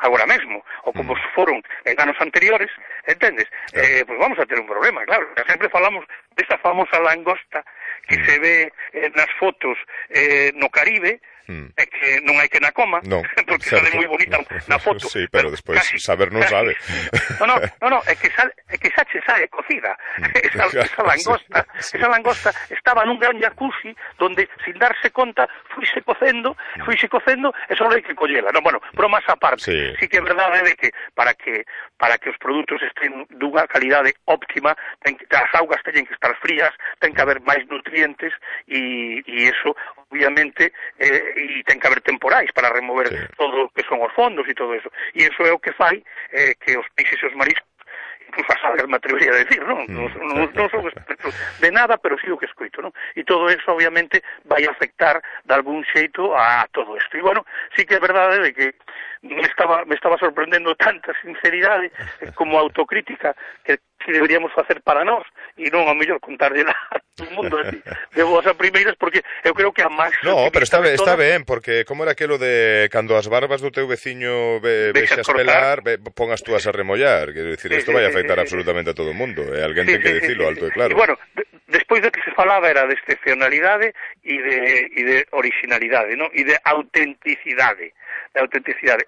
agora mesmo, ou como foron en anos anteriores, entendes? Pois vamos a ter un problema, claro. Sempre falamos desta famosa langosta que se ve nas fotos no Caribe, é que non hai que na coma, porque sale moi bonita na foto. Sí, pero despois saber non sabe. No, é que xa che sabe cocida. Esa langosta estaba nun gran jacuzzi donde, sin darse conta, fuise cocendo, e só hai que collela. No, bueno, bromas á parte. Sí que é verdade de que para que os produtos estén dunha calidade óptima, as augas teñen que estar frías, ten que haber máis nutrientes, e eso, obviamente, e ten que haber temporais para remover todo o que son os fondos e todo eso. E eso é o que fai que os peixes e os mariscos, incluso as algas, me atrevería a decir, non son expertos de nada, pero sí o que escoito, non? E todo eso, obviamente, vai afectar de algún xeito a todo isto. E, bueno, sí que é verdade de que me estaba sorprendendo tanta sinceridade como autocrítica que deberíamos facer para nós, e non ao mellor contarlle a todo o mundo de boas a primeiras, porque eu creo que a máis... No, pero está ben, porque como era aquilo de cando as barbas do teu veciño vexas pelar, pongas tú as a remollar, quero dicir, isto vai afectar absolutamente a todo o mundo, e alguén ten que dicilo alto e claro. E, bueno, despois de que se falaba era de excepcionalidade e de originalidade, non? E de autenticidade.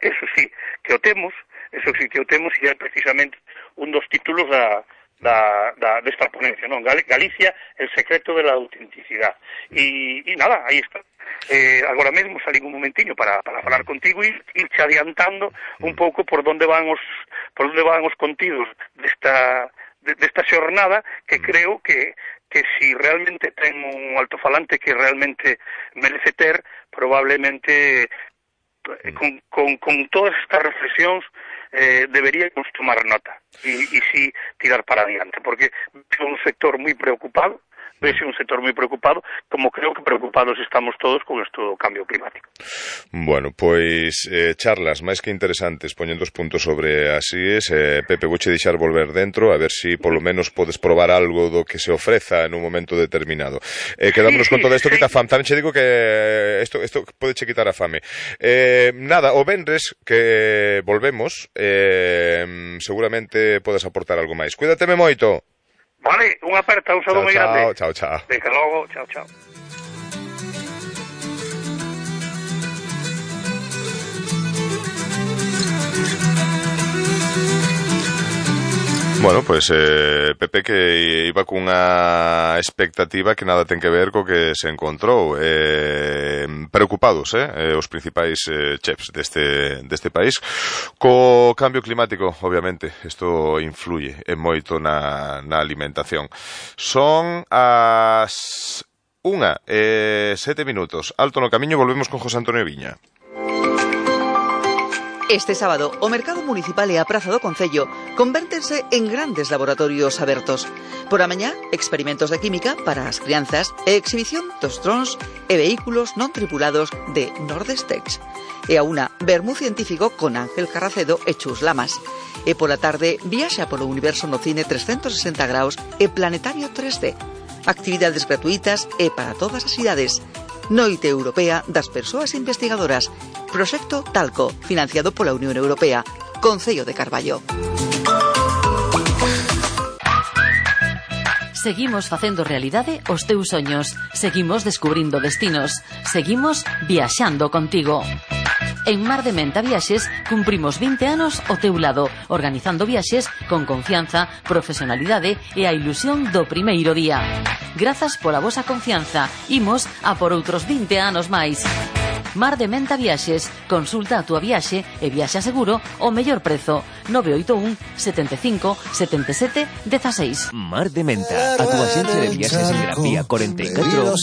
Eso sí que o temos, e é precisamente un dos títulos desta ponencia, non? Galicia, el secreto de la autenticidade. E nada, aí está. Agora mesmo salín un momentiño para falar contigo e irche adiantando un pouco por onde van os contidos desta xornada, que creo que si realmente ten un altofalante que realmente merece ter, probablemente con todas estas reflexións deberíamos tomar nota e si tirar para adiante, porque é un sector moi preocupado, como creo que preocupados estamos todos con isto do cambio climático. Bueno, pois charlas máis que interesantes, poñendo os puntos sobre as IES. Pepe, vouche deixar volver dentro, a ver si polo menos podes probar algo do que se ofreza en un momento determinado. Quedámonos con todo isto que ta fame. Tamén che digo que isto pode che quitar a fame. Nada, o venres que volvemos, seguramente podes aportar algo máis. Cuídateme moito. Vale, unha aperta, un saludo moi grande. Chao. Venga, logo, chao. Bueno, pois Pepe que iba cunha expectativa que nada ten que ver co que se encontrou. Preocupados, os principais chefs deste país co cambio climático, obviamente. Isto influye moito na alimentación. Son as 1:07. Alto no camiño, volvemos con José Antonio Viña. Este sábado, o mercado municipal e a praza do Concello convértense en grandes laboratorios abertos. Por a mañá, experimentos de química para as crianzas e exhibición dos drons e vehículos non tripulados de Nordestex. E a una, vermú científico con Ángel Carracedo e Chus Lamas. E pola tarde, viaxa polo universo no cine 360 graus e planetario 3D. Actividades gratuitas e para todas as idades. Noite Europea das Persoas Investigadoras. Proxecto Talco, financiado pola Unión Europea. Concello de Carballo. Seguimos facendo realidade os teus soños. Seguimos descubrindo destinos. Seguimos viaxando contigo. En Mar de Menta Viaxes cumprimos 20 anos ao teu lado, organizando viaxes con confianza, profesionalidade e a ilusión do primeiro día. Grazas pola vosa confianza, imos a por outros 20 anos máis. Mar de Menta Viaxes, consulta a túa viaxe e viaxa seguro ao mellor prezo. 981 75 77 16. Mar de Menta, a túa xencia de viaxes en Gran Vía 44